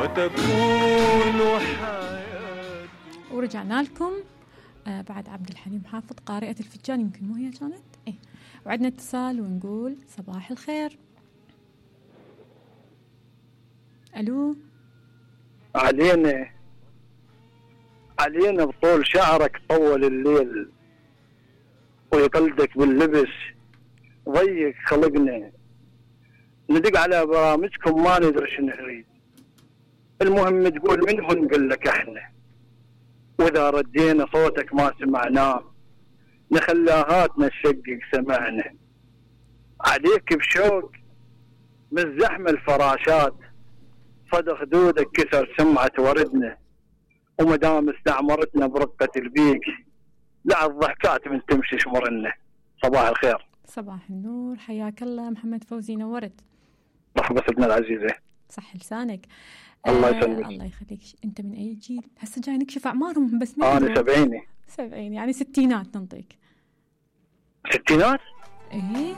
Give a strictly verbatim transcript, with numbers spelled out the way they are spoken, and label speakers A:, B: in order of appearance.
A: وتكون حياته.
B: ورجعنا لكم آه بعد عبد الحليم حافظ قارئة الفنجان، يمكن مو هي كانت ايه. وعدنا اتصال ونقول صباح الخير. الو.
C: علينا علينا بطول شعرك طول الليل ويقلدك باللبس ضيق خلقنا، ندق على برامجكم ما ندري شنو نريد، المهم تقول منهم نقول لك احنا، واذا ردينا صوتك ما سمعناه نخلاهاتنا نشقق سمعنا، عليك بشوق من زحمة الفراشات صدى خدودك كسر سمعة وردنا، ومدام استعمرتنا برقة البيك لا الضحكات من تمشي شمرنا. صباح الخير.
B: صباح النور، حياك الله محمد فوزي، نورت.
C: مرحبا ستنا العزيزة.
B: صح لسانك.
C: الله
B: آه
C: يسلمك.
B: الله يخليك. انت من اي جيل؟ هسه جاي نكشف اعمارهم بس
C: ما انا سبعيني.
B: سبعين يعني ستينات ننطيك.
C: ستينات؟
B: ايه